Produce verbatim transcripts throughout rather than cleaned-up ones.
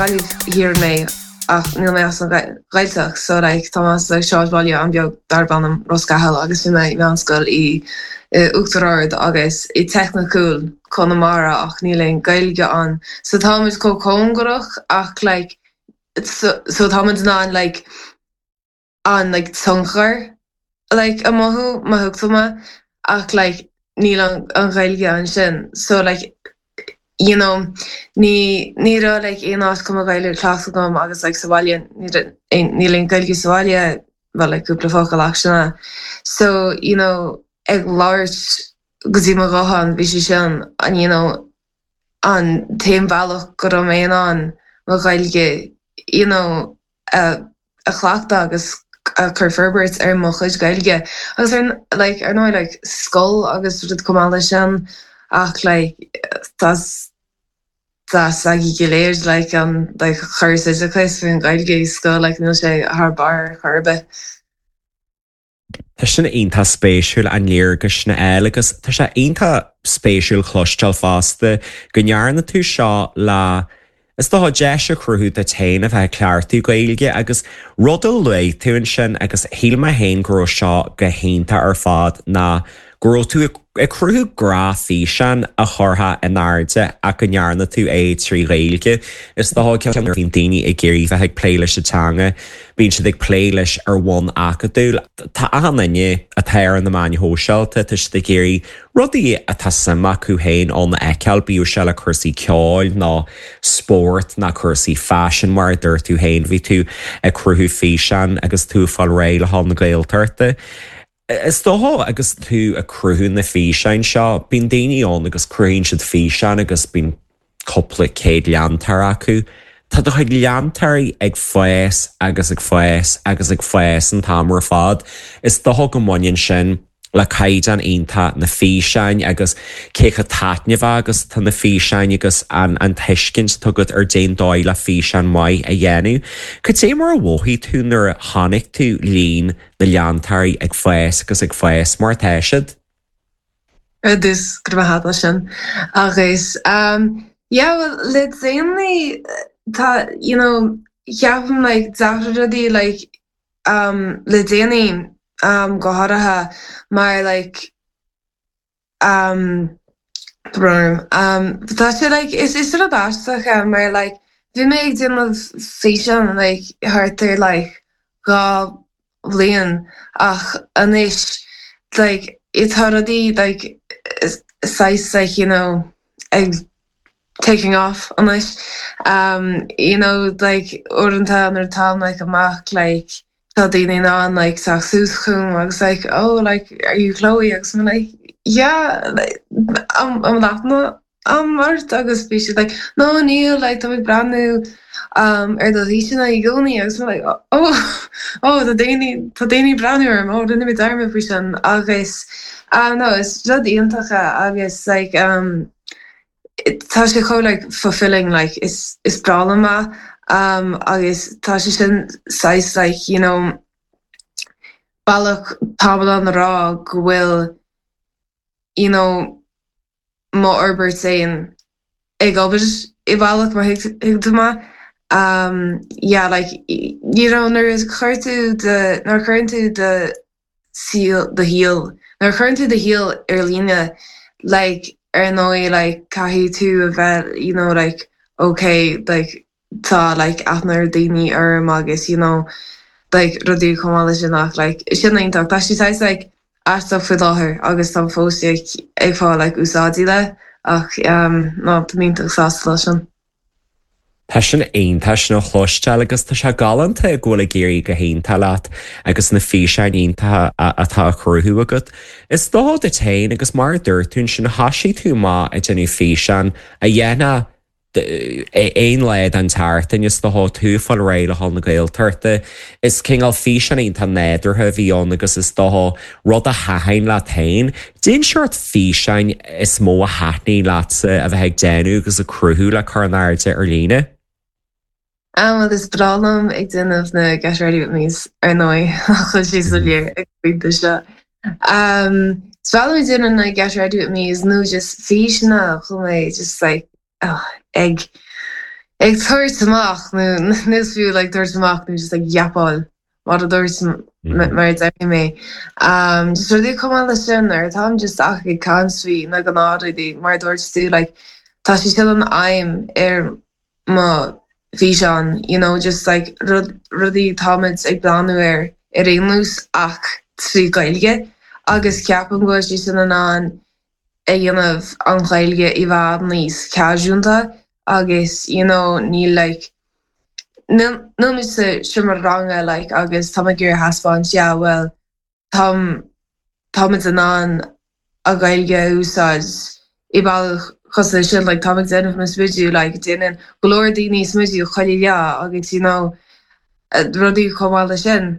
Gaillimh Thiar mé ach níl mé as an Ghaeltacht so like tá as like sráidbhaile an-bheag darb ainm Ros Cathail agus bhí mé i meánscoil i Uachtar Ard agus i technically Conamara ach níl aon Gaeilge ann. So táimid chomh cóngarach ach like so, so táimid in ann like an like tionchar like a mothú má thuig tú mé ach like níl an, an Ghaeilge ansin so like you know ní ní raibh like aon áit chun mo Ghaeilge cleachtadh agam agus like sa bhaile níl aon Ghaeilge sa bhaile well like cúpla focal ach sin so you know ag labhairt go dtí mo ghuthán bhí sé sin an you know an t-aon bhealach go raibh mé in ann mo Ghaeilge you know a a chleachtadh agus a chur forbairt ar mo chuid Gaeilge agus ar like ar ndóigh like scoil agus rud chomh maith leis sin ach like tá tá againn go léir like an like córas oideachais faoin Ghaeilge i scoil like níl sé thar barr chor ar bith. Tá sin iontach spéisiúil an léargas sin eile agus tá sé iontach spéisiúil cloisteáil fosta go ndearna tú seo le Is dócha deis a chruthú duit féin a bheith ag cleachtadh Gaeilge agus rud a luaigh tú ansin agus shíl mé féin go raibh seo go hiontach ar fad ná go raibh tú ag cruthú gnáthfhíseán a churtha in airde ach go ndearna tú é trí Ghaeilge. Is dócha bíonn daoine ag iarraidh bheith ag plé leis an teanga, bíonn siad ag plé leis ar bhonn acadúil. Tá achan duine atá ar na meáin shóisialta tá siad ag iarraidh rudaí atá suim acu féin ann a fheiceáil bíodh sé le cúrsaí ceoil ná spórt ná cúrsaí faisin mar a dúirt tú féin bhí tú ag cruthú físeán agus tú fáil réidh le haghaidh na Gaeltachta. Is dócha agus tú ag cruthú na físeáin seo, bíonn daoine ann agus cruthaíonn siad físeán agus bíonn cúpla céad leantóir acu. Tá do chuid leantóirí ag fás agus ag fás agus ag fás an t-am ar fad. Is dócha go mbaineann sin le caighdeán iontach na físeáin agus cé chomh taitneamhach agus tá na físeáin agus an an tuiscint atá agat ar cén dóigh le físeán maith a dhéanamh. Cad é mar a mhothaigh tú nuair a chonaic tú líon na leantóirí ag fás agus ag fás mar atá siad? Dus go maith sin agus um, yeah, well, le déanaí tá you know, ceapaim like deachar rudaí like um, le déanaí um, go háirithe mar like um, um, tá sé like is is rud aisteach é mar like bhí mé ag déanamh físeán like thart ar like dhá bhliain ach anois like tá rudaí like saghas like you know ag taking off anois um, you know like uaireanta nuair atá like amach like tá daoine in ann like teacht suas chugam agus like oh like are you Chloe agus I'm like yeah like am am leatna am ort agus bhí siad like no níl like tá ag breathnú um, ar do fhíseanna i gcónaí agus mé like oh oh tá daoine tá daoine breathnú orm ó rinne mé dearmad faoi sin agus uh, no is rud iontach é agus like um, tá sé chomh like fulfilling like is is breá liom é um, agus tá sé sin saghas like you know bealach tábla na rá go bhfuil you know mo fhorbairt féin ag obair i bhealach mar thuig tú mé um, yeah like you know nuair a chuir tú de nuair a chuireann tú do saol do shaol nuair a chuireann tú do shaol ar líne like ar ndóigh like caithfidh tú a bheith you know like okay like tá like aithne ar daoine orm agus you know like rudaí chomh maith leis sin ach like sin iontach tá sé saghas like aisteach faoi láthair agus tá fós ag ag fáil like úsáidí le ach um, no tá iontach sásta leis sin. Tá sin iontach sin a chloisteáil agus tá sé galánta go bhfuil ag éirí go hiontach leat agus na físeáin iontacha atá á chruthú agat. Is dócha duit féin agus mar a dúirt tú sin thosaigh tú amach ag déanamh físeán a dhéanamh aon lá den tseachtain is dócha tú fáil réidh le haghaidh na Gaeltachta. Is cineál físeán iontach nádúrtha a bhí ann agus is dócha rud a thaitin leat féin. Cén seort físeáin is mó a thaitníonn leatsa a bheith ag déanamh agus ag cruthú le cur in airde ar líne. Um, well, is breá liom ag déanamh na Get Ready With Me's ar ndóigh chuil sé soiléir ag pointe seo. Um, is breá liom ag déanamh na Get Ready With Me's nó just físeanna chun mé just like oh, ag ag tabhairt amach nó níos fiú like tabhairt amach nó just like yapáil mar a dúirt mar a deir mé. Um, just rudaí chomh maith leis sin ar táim just ach ag caint faoi na gnáthrudaí mar a dúirt tú like tá sé sin an aidhm ar mo físeán you know just like rud rudaí táimid ag breathnú ar ar aon nós ach trí Ghaeilge agus ceapaim go bhfuil sé sin in ann a dhéanamh an Ghaeilge i bhfad níos casualta agus you know níl like níl sa seomra ranga like agus tá ag iarraidh thaispeáint yeah well táim táimid in ann an Ghaeilge a úsáid i bealach cosúil sin like táim ag déanamh mo smideadh like déanann go leor daoine smideadh chuile lá agus you know rudaí chomh maith leis sin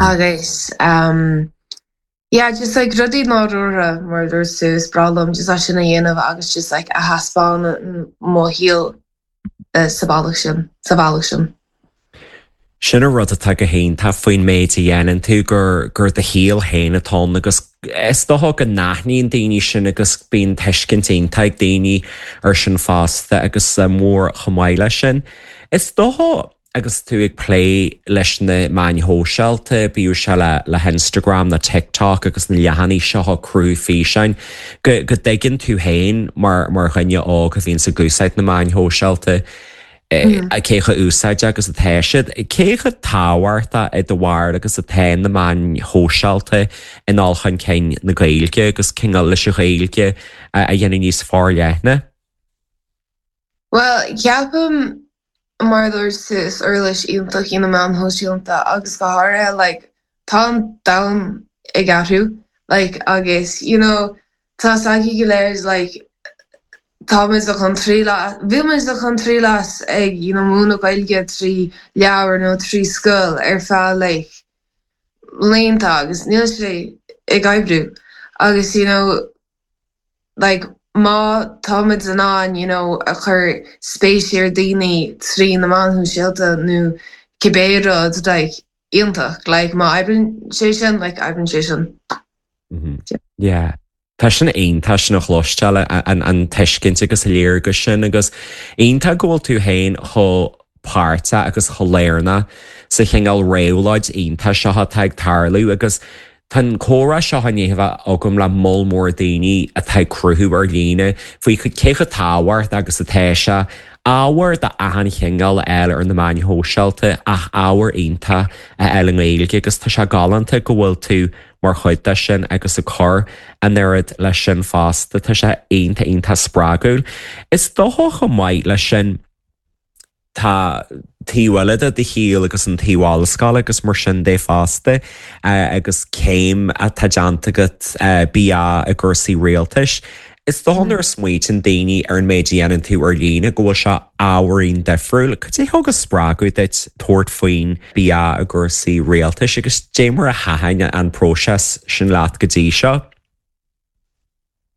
agus um yeah just like rudaí nádúrtha mar a dúirt tú is breá liom just é sin a dhéanamh agus just like a thaispeánann mo shaol uh, sa bhealach sin sa bhealach sin. Sin an rud atá go hiontach faoin méid a dhéanann tú gur gur do shaol féin atá agus is dócha go n-aithníonn daoine sin agus bíonn tuiscint iontach ag daoine ar sin fosta agus mór chomh maith leis sin. Is dócha agus tú ag plé leis na meáin shóisialta, bíodh sé le le Instagram na TikTok agus na leathanaigh seo cruthú físeáin, go go dtuigeann tú féin mar mar dhuine óg a bhíonn ag úsáid na meáin shóisialta. cé chomh úsáideach agus atá siad, cé chomh tábhachtach i do bharúil agus atá na meáin shóisialta i ndul chun cinn na Gaeilge agus cineál leis an Ghaeilge a dhéanamh níos forleithne. Well ceapaim mar a dúirt tú is uirlis iontach í na meáin shóisialta agus go háirithe like tá an domhan ag athrú like agus you know tá againn go léir like táimid chun triail bhí muid chun triail as ag you know múineadh Gaeilge trí leabhar nó trí scoil ar feadh like blianta agus níl sé ag oibriú agus you know like má táimid in ann you know a chur spéis ar daoine trí na meáin shóisialta nó cibé rud like iontach like má oibríonn sé sin like oibríonn sé sin. Yeah. Tá sin iontach sin a chloisteáil an an tuiscint agus léargas sin agus iontach go bhfuil tú féin chomh páirteach agus chomh lárnach sa chineál réabhlóid iontach seo atá ag tarlú agus Tá an comhrá seo i ndiaidh a bheith agam le moll mór daoine atá ag cruthú ar líne faoi cé chomh tábhachtach agus atá sé ábhar d'achan chineál eile ar na meáin shóisialta ach ábhar iontach a fháil i nGaeilge agus tá sé galánta go bhfuil tú mar chuid de sin agus ag cur an oiread leis sin fosta tá sé iontach iontach spreagúil. Is dócha chomh maith leis sin tá taobh eile de do shaol agus an taobh ollscoile agus mar sin de fosta agus céim atá déanta agat BA i gcúrsaí rialtais. Is dócha nuair a smaoitíonn daoine ar an méid a dhéanann tú ar líne go bhfuil sé ábhairín difriúil, Cad é thug an spreagadh duit tabhairt faoin BA i gcúrsaí rialtais agus dé mar a thaitin an próiseas sin leat go dtí seo?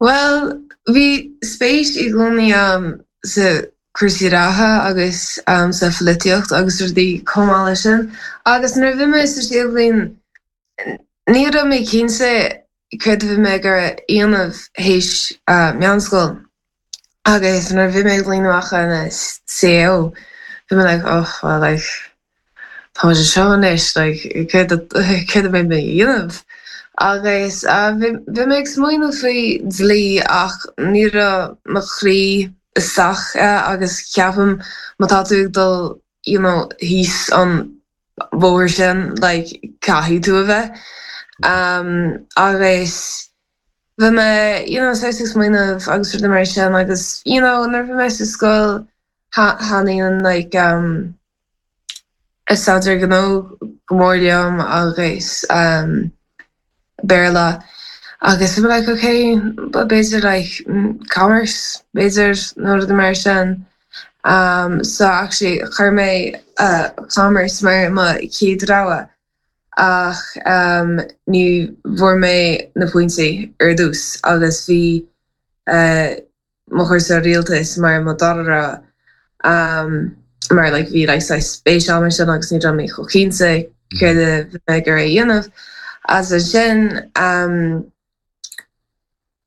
Well, bhí spéis i gcónaí um, sa cúrsaí reatha agus um, sa pholaitíocht agus rudaí chomh maith leis sin. Agus nuair a bhí mé sa séú bliain ní raibh mé cinnte céard a bhí mé ag déanamh théis uh, meánscoil. Agus nuair a bhí mé ag bliain amach an CAO, bhí mé like, oh, well, like, tá sé seo anois like, céard a bheidh mé a dhéanamh. Agus uh, bhí mé ag smaoineamh faoi dlí ach ní raibh mo chroí isteach agus ceapaim má tá tú ag dul you know, thíos an bóthar sin like, caithfidh tú a bheith. Um, agus bhí mé you know, ag smaoineamh agus rudaí mar sin agus you know, nuair bhí mé sa scoil thaitníonn like, um, staidéar gnó go mór liom agus um, Béarla. Agus bhí like, okay, b'fhéidir like, commerce, b'fhéidir nó rudaí mar sin. Um, so actually chuir mé uh, commerce mar mo chéad rogha ach um, ní bhfuair mé na pointí ar dtús agus bhí uh, mo chúrsa rialtais mar mo dara rogha um, mar like, bhí like, spéis agam sin agus ní raibh mé chomh cinnte céard a bhí mé ag a dhéanamh. As sin um,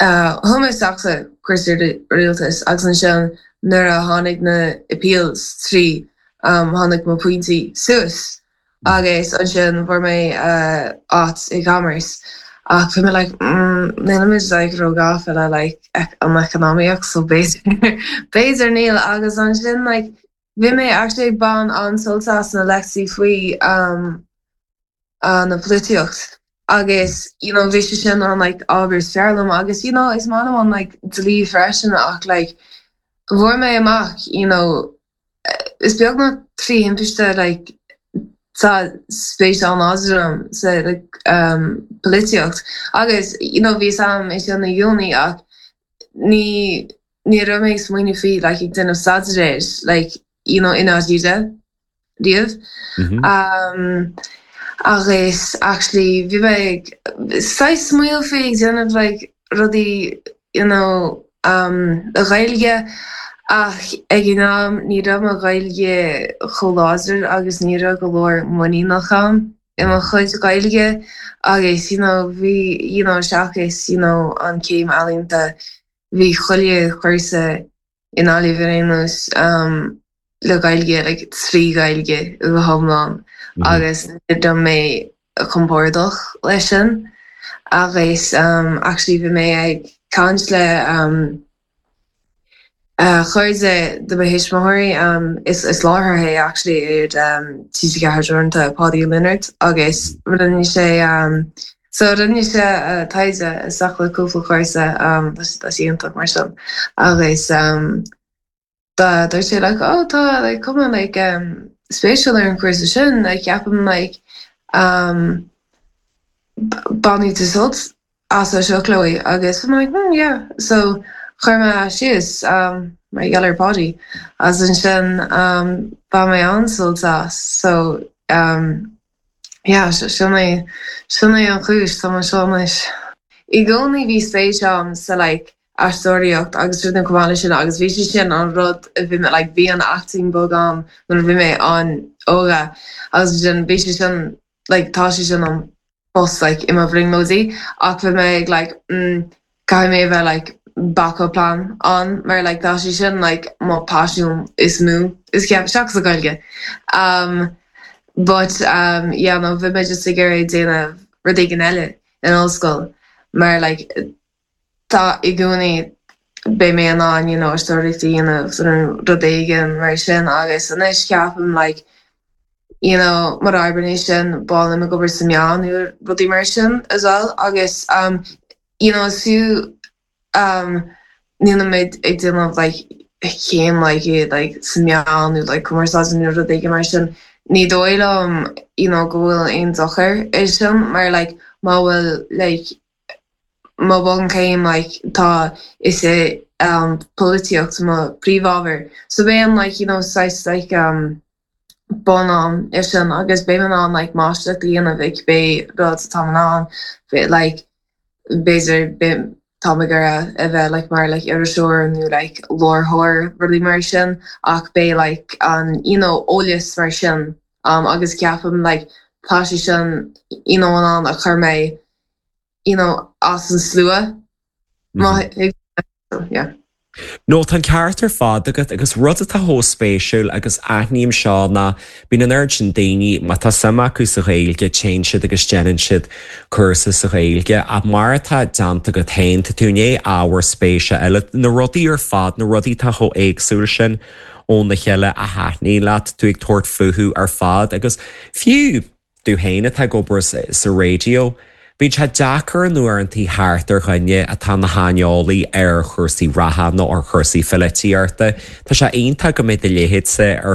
uh, Thum isteach sa chúrsa rialtais agus ansin nuair a tháinig na appeals trí um, tháinig mo pointí suas agus ansin fuair mé uh, áit i commerce. Ach bhí mé like mm, nílimid like ró-ghafa le like an economy so b'fhéidir níl agus ansin like bhí mé actually ag baint an-sult as na lectí faoi um, uh, na polaitíocht agus you know bhí sé sin an like ábhar is fearr liom agus you know is maith liom an like dlí freisin ach like fuair mé amach you know is beag nach trí thimpiste like tá spéis an-láidir sa like um polaitíocht agus you know bhí sam é sin na uni ach ní ní raibh mé ag smaoineamh faoi like ag déanamh staidéir like you know in áide riamh Mhm. um agus actually bhí mé ag saghas smaoineamh faoi ag déanamh like rudaí you know um a Ghaeilge ach ag an am ní raibh mo Ghaeilge chomh láidir agus ní raibh go leor muiníneach agam i mo chuid Gaeilge agus you know bhí you know seachas you know an céim ealaíonta bhí chuile chúrsa in Gaillimh ar aon nós um le Gaeilge like trí Ghaeilge go hiomlán Mhm. agus ní raibh mé compordach leis sin agus um actually bhí mé ag caint le um uh, cairde de mo thuismitheoirí um, is is láithreoir é actually ar um, TG Ceathair Teoranta Paddy Leonard agus rinne sé um, so rinne sé uh, taighde isteach le cúpla cúrsa um, tá sé iontach mar sin agus um, dá dúirt sé like oh tá like cuma like um, spéisiúil ar an chúrsa sin like ceapaim like um, bainfidh tú sult as seo Chloe agus I'm like hmm, yeah so chuir mé síos um, mar gheall ar Paddy as ansin um, bhain mé an-sult as so um, yeah sin é sin é an chúis tá seo anois. I gcónaí bhí spéis agam sa like aisteoireacht agus rud cumála sin agus bhí sé sin an rud a bhí like bhí an acting bug agam nuair a bhí mé an-óg agus sin bhí sé sin like tá sé sin an bus like i mo bhrionglóidí ach bhí mé ag like mm, caithfidh mé bheith like backup plan an mar like tá sé sin like mo passion is mó is ceap seachas an Ghaeilge. Um, but um, yeah, no, bhí mé just ag iarraidh déanamh rud éigin eile in ollscoil mar like tá i gcónaí beidh mé in ann you know aisteoireacht a dhéanamh rud éigin mar sin agus anois ceapaim like you know mar oibre sin bá me gober sa meán nó rudaí mar sin as well agus um, you know fiú um, níl mé ag déanamh like céim like i like sa meán nó like cumarsáid nó rud éigin mar sin ní dóigh liom you know go bhfuil aon dochar é sin mar like má bhfuil like má bhunchéim like tá is é um, polaitíocht mo príomhábhar so beidh an like you know saghas like um, bonn agam é sin agus beidh mé in like máistreacht a dhéanamh ag pé rud atá ann like b'fhéidir tá gur a bheith like mar like iriseoir nó like láithreoir rudaí mar sin ach beidh like an you know eolas mar sin um, agus ceapaim like tá sé sin you know an a chur mé you know as an slua mm -hmm. yeah. No tá ceart ar fad agat agus rud atá spéisiúil agus aithním seo ná bíonn an oiread sin daoine má tá suim acu sa Ghaeilge téann siad agus déanann siad cúrsa sa Ghaeilge ach mar atá déanta agat féin tá tú né ábhar spéise eile na rudaí ar fad na rudaí tá chomh éagsúil sin óna chéile a thaitníonn leat tú ag tabhairt fúthu ar fad agus fiú tú féin atá ag obair sa raidió. Bíonn sé deacair uaireanta thart ar dhuine atá ina shaineolaí ar chúrsaí reatha nó ar chúrsaí polaitíochta. Tá sé iontach go mbeidh do leithéidse ar